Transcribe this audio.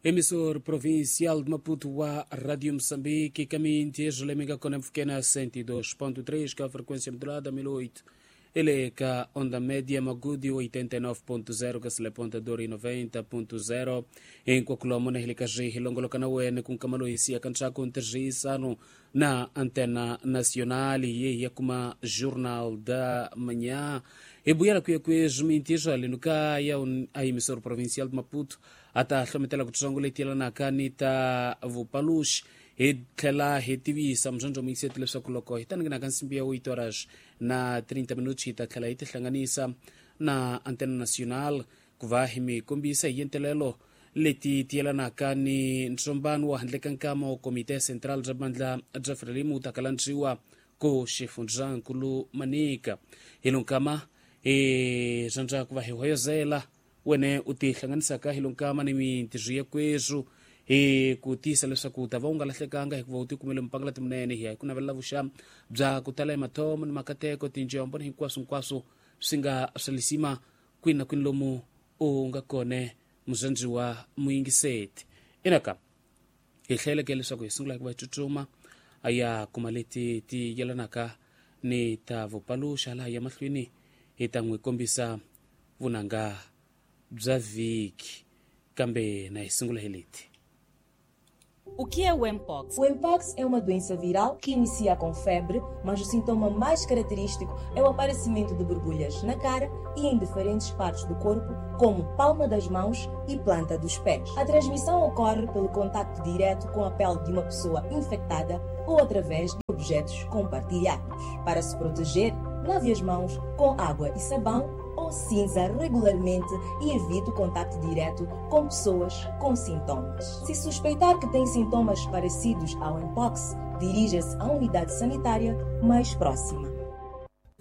Emissor provincial de Maputo wa Rádio Moçambique, caminho Lemega com Mfkena 102.3, que a frequência modulada 1008. Ele é que onda média Magudi 89.0, que se leponta Dori 90.0, em Coculomo, na Helicaji, Longolocanauene, com Camaloisia, Canchaco, Tergisano, na Antena Nacional e kuma Jornal da Manhã. E buiara kuya kuya mintijo alinuka ya a emissor provincial de Maputo, ata hlometela kutsongo letiela ni ta vupalush hi tlhela hi tivisa muzondzo muyiseti leswaku loko hi ta ninginaka nsimbi ya 8 horas na 30 minutos hi ta tlhela hi tihlanganisa na Antena Nacional ku va hi mi kombisa hi yentelelo leti tiyelanaka ni ntsombano wa handle ka nkama wa Komite Central bya Bandla bya Frelimo wu ta kalandziwa ku xifundzankulu Manika. Hi lonkama hi rhandza ku va hi hoyozela wene u tihlanganisaka hi lonkama ni mintirho ya kwezu hi ku tiyisa leswaku u ta va u nga lahlekanga hikuva u tikumele mupangala timunene hi ya hi ku navelela vuxa bya ku tala hi mathomo ni makateko tinjombo ni hinkwaswo hinkwaswo swi nga swa lisima kwini na kwini lomu u nga kone muzandziwa muyingiseti. Inaka hi hleleke leswaku hi sungula hi ku va hi tsutsuma a ya kuma leti ti yelanaka ni ta vupaluxa laha ya mahlweni hi ta n'wi kombisa vunanga bya vhiki kambe na hi sungula hi leti. O que é o Mpox? O Mpox é uma doença viral que inicia com febre, mas o sintoma mais característico é o aparecimento de borbulhas na cara e em diferentes partes do corpo, como palma das mãos e planta dos pés. A transmissão ocorre pelo contacto direto com a pele de uma pessoa infectada ou através de objetos compartilhados. Para se proteger, lave as mãos com água e sabão ou cinza regularmente e evite o contacto direto com pessoas com sintomas. Se suspeitar que tem sintomas parecidos ao Mpox, dirija-se à unidade sanitária mais próxima.